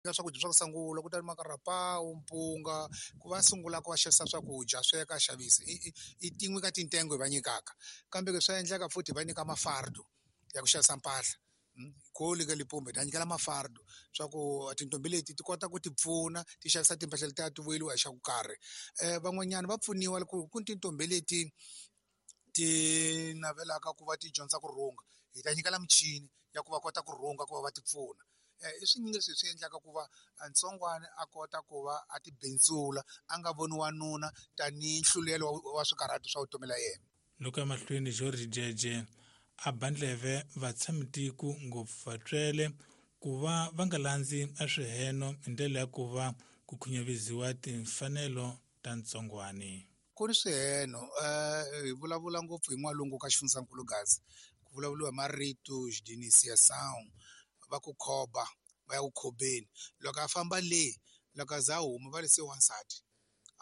Ka swakudya swa ku sungula ku ta ni makarapawu, mpunga ku va sungula ku va xavisa swakudya sweka a xavisa i tin'we ka tintengo hi va nyikaka kambe swa endleka futhi hi va nyika mafardo ya ku xavisa mpahla kole ka Limpopo hi ta nyikela mafardo swa ku tintombi leti ti kota ku ti pfuna ti xavisa timpahla letiya ti vuyeliwa hi xa ku karhi van'wanyana va pfuniwa loko ku ni tintombi leti ti navelaka ku va ti dyondza ku rhunga hi ta nyikela michini ya ku va kota ku rhunga ku va va ti pfuna i swinyingi leswi hi swi endlaka ku va ntsongwana a kota ku va a ti bindzula a nga voni wanuna tanihi nhlulelo wa swikarhato swa vutomi la yena. Loko emahlweni George Jeje a ba ndleve vatshamitiko ngopfu vatswele ku va va nga landzi a swiheno hi ndlela ya ku va ku khunyaviziwa timfanelo ta ntsongwani. Ku ni swiheno hi vulavula ngopfu hi n'walungu ka xifundzankulu Gaza ku vulavuriwa hi marito xidinisiyasawu va ku khoba va ya ku khobeni loko a famba le loko a za a huma va ri se wansati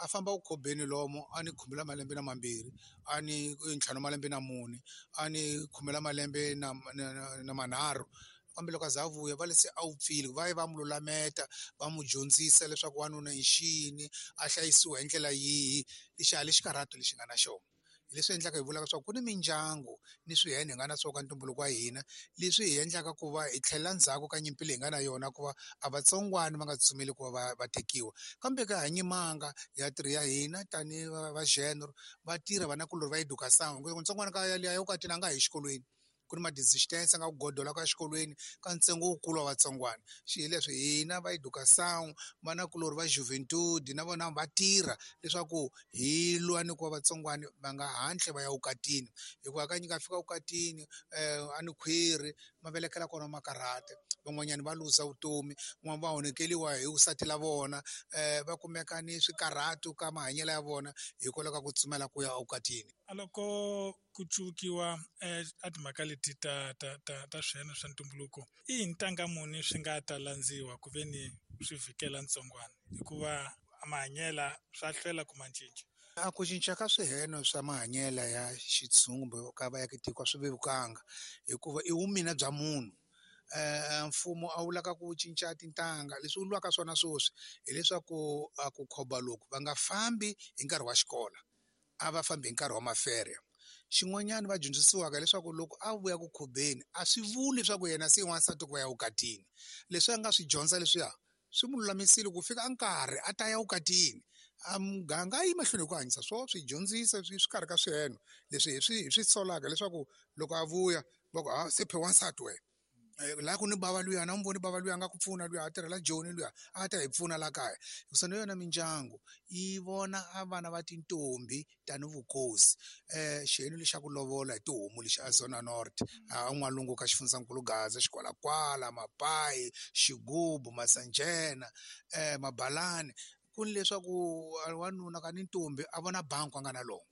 a famba ku khobeni lomu a ni khume ra malembe na mambirhi a ni ntlhanu malembe na mune a ni khume ra malembe na na na manharhu kambe loko a za a vuya va le se a wupfile va ye va n'wi lulameta va n'wi dyondzisa leswaku wanuna i xini a hlayisiwa hi ndlela yihi lexi a lexi karhato lexi nga na xona hi leswi endlaka hi vulaka leswaku ku ni mindyangu ni swihene hi nga na swona ka ntumbuluko wa hina leswi hi endlaka ku va hi tlhelela ndzhaku ka nyimpi leyi hi nga na yona ku va a vatsongwana va nga tsutsumeli ku va va va tekiwa kambe ka ha nyimanga ya tirhi ya hina tanihi va genre va tirha vanakulorhi va education ntsongwana ka yaliya ya vukatini a nga ha yi exikolweni ku ni ma-distance nga ku godola ka xikolweni ka ntsengo wukulu wa vatsongwana xi hi leswi hina va education vanakulorhi va juventude na vona va tirha leswaku hi lwa ni ku va vatsongwana va nga hatli va ya vukatini hikuva hakanyingi a fika vukatini a ni khwiri ma velekela kona ma karhata van'wanyana va luza vutomi van'wana va onhakeriwa hi vusati la vona va kumeka ni swikarhato ka mahanyelo ya vona hikwalaho ka ku tsumela ku ya evukatini. A loko ku cuvukiwa a timhaka leti ta ta ta ta swiheno swa ntumbuluko i ntanga muni swi nga ta landziwa ku ve ni swi vhikela ntsongwana hikuva mahanyela swa hlwela ku ma cinca. A ku cinca ka swiheno swa mahanyela ya xitshungu kumbe ka vaakatiko a swi vevukanga hikuva i vumina bya munhu mfumo a wu lava ku cinca tintangha leswi wu lwaka swona sweswi hileswaku a ku khoba loku va nga fambi hi nkarhi wa xikolo a va fambi hi nkarhi wa mafere xin'wanyana va dyondzisiwaka leswaku loko a vuya ku khobeni a swi vuli leswaku yena se i wansati ku va ya vukatini leswi a nga swi dyondza leswiya swi n'wi lulamisile ku fika nkarhi a ta ya vukatini a muganga a yi mahlweni hi ku hanyisa swo swi dyondzisa swi swi karhi ka swiheno leswi hi swi hi swi solaka leswaku loko a vuya va ku ha se phe wansati wena laha ku ni bava luya na n'wi voni bava luya a nga ku pfuna luya a tirhela Joni luya a ta hi pfuna la kaya hikusa na yona mindyangu yi vona a vana va tintombi tani vukosi xiyenge lexi xa ku lovola hi tihomu lexi a Zona North a n'walungu ka xifundzankulu Gaza xikwalakwala mapayi xigubu masanjena mabalani ku ni leswaku wanuna ka ni ntombi a vona bangi a nga na lona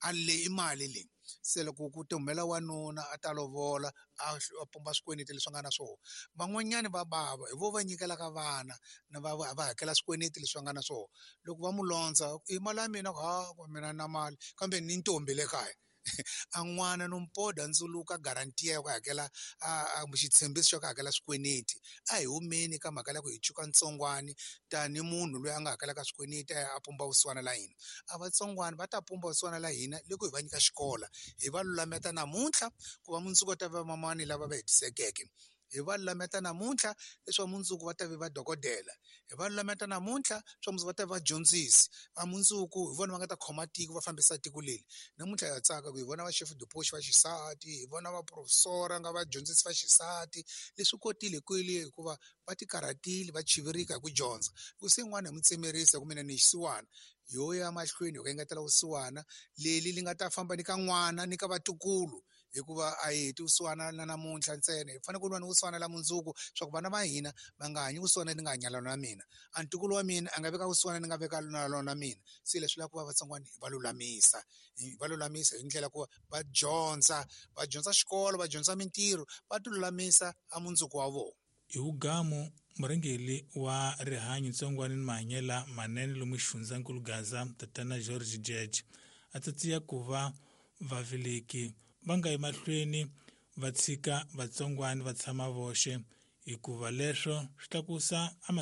a leyi i mali leyi se loko ku ti humela wanuna a ta lovola a pumba swikweleti leswi nga na swona van'wanyani va bava hi vo va nyikelaka vana na va va hakela swikweleti leswi va nga na swona loko va mu londza i mali ya mina ha mina na mali kambe ni ntombi le kaya a n'wana no mpoda ndzuluka guarantee ya ku hakela a xitshembiso xa ku hakela swikweleti a hi humeni ka mhaka ya ku hi cuka ntsongwani tani munhu loyi a nga hakelaka swikweleti a ya a pumba vusiwana la hina a vatsongwana va ta pumba vusiwana la hina loko hi va nyika xikolo hi va lulameta namuntlha ku va mundzuku va ta va mamani lava va hetisekeke hi va lulameta namuntlha leswaku mundzuku va ta vi vadokodela hi va lulameta namuntlha swa mundzuku va ta vi vadyondzisi va mundzuku hi vona va nga ta khoma tiko va fambisa tiko leri namuntlha ha tsaka ku hi vona va chef de poste va xisati hi vona va professor nga vadyondzisi va xisati leswi kotile kwele hikuva va ti karhatile va chivirika hi ku dyondza ku se n'wana hi n'wi tsemerisa ku mina ni xisiwana yo ya mahlweni hi ku engetela vusiwana leli li nga ta famba ni ka n'wana ni ka vatukulu hikuva a hi heti vusiwana na namuntlha ntsena hi fanele ku lwa ni vusiwana la mundzuku swa ku vana va hina va nga hanyi vusiwana ni nga hanya lona mina a ntukulu wa mina a nga veka vusiwana ni nga veka na lona mina se leswi lava ku va vatsongwana hi va lulamisa hi va lulamisa hi ndlela ku va dyondza va dyondza xikolo va dyondza mintirho va ti lulamisa a mundzuku wa vona. Hi vugamu, murhangeri wa rihanyo ntsongwana ni mahanyela manene lomu xifundzankulu Gaza, Tatana George Jeje, a tsatsiya ku va vaveleki va nga yi mahlweni va tshika vatsongwana va tshama voxe Hikuva leswo swi tlakusa a.